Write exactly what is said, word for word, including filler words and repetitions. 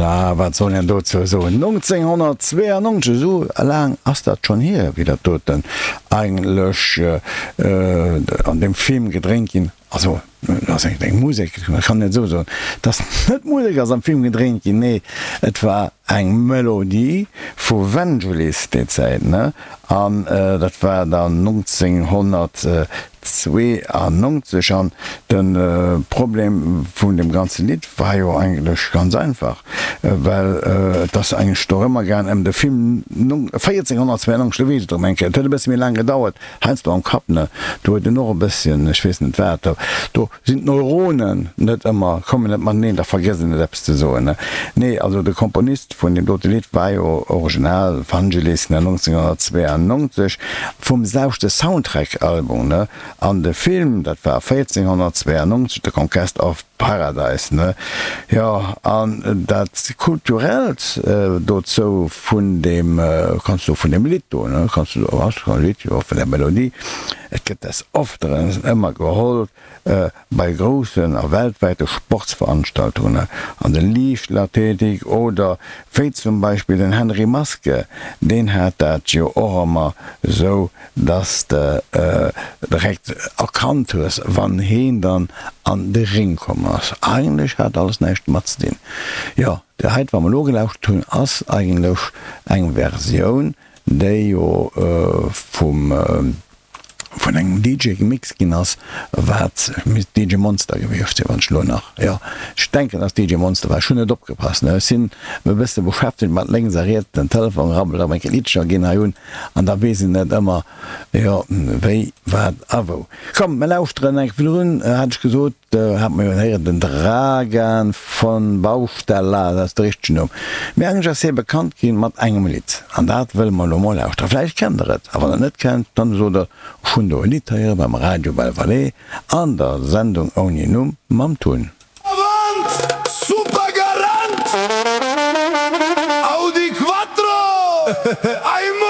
Na, wat soll een dozou soen? nonzénghonnertzweeanonzeg, esou laang ass dat schonn hier, wéi dat doten eigentlech an deem Film gedréint ginn. Also, dat ass eng Musek, ech kann net esou soen, dass net d'Musek ass am Film gedréint ginn, nee, et war eng Melodie vu Vangelis déi Zäit, ne? An dat war dann nonzénghonnertzweeanonzeg. An de Problem vun deem ganze Lidd war jo eigentlech ganz einfach, well et ass eigentlech dorëmmer gaang, ëm de Film véierzénghonnertzweeanonzeg, do weess ech et erëm eng Kéier, et huet e bësse méi laang gedauert, Heiansdo am Kapp, ne, do huet en och e bësschen, ech weess net wat, do sinn d'Neuronen net ëmmer, kommen net mateneen, da vergësst en et eppes ze soen, ne. Nee, also de Komponist vun deem dote Lidd war jo original Vangelis, ne, nonzénghonnertzweeanonzeg, vum selwechte Soundtrack-Album, ne, an de Film, dat war véierzénghonnertzweeanonzeg, The Conquest of Paradise, ne? Jo, an dat Kulturellt dozou vun deem, kanns du vun deem Lidd do, ne, kanns du, ass e Lidd, jo, vun der Melodie, et gëtt des Ofteren ëmmer geholl bei groussen a weltwäite Sportsveranstaltungen, an der Liichtathletik oder wéi zum Beispill den Henri Maske, deen hat dat jo och ëmmer sou, dass de direkt erkannt hues, wann heen dann an de Ring komm ass. Eigentlech hat alles näischt domat ze dinn. Jo, déi heit, wa mer elo gelauschtert hunn, ass eigentlech eng Versioun, déi jo vum, vun engem D J gemixt ginn ass, wat misst D J Monster gewiescht sinn, wann ech elo nach, jo, ech denken, dass D J Monster war, ech hunn net opgepasst, ne, ech sinn e bësse beschäftegt mat lénks a riets, den Telefon rabbelt, a meng Liddcher ginn hei un an da weess een net ëmmer, jo, wéi, wat a wou. Komm, mir lauschteren eng, virdrun hat ech gesot, hat mer jo héieren, den Dragan von Baustella, dat ass de richtegen Numm, mee eigentlech ass hie bekannt ginn mat engem Lidd an dat wëlle mer elo mol lauschteren. Vläicht kennt der et, a wann der et net kennt, dann sot der, ech hunn do e Lidd héiere beim Radio Belle Vallée an der Sendung ouni Numm mam Tun. Avant! Super Garant! Audi Quattro! Aimo!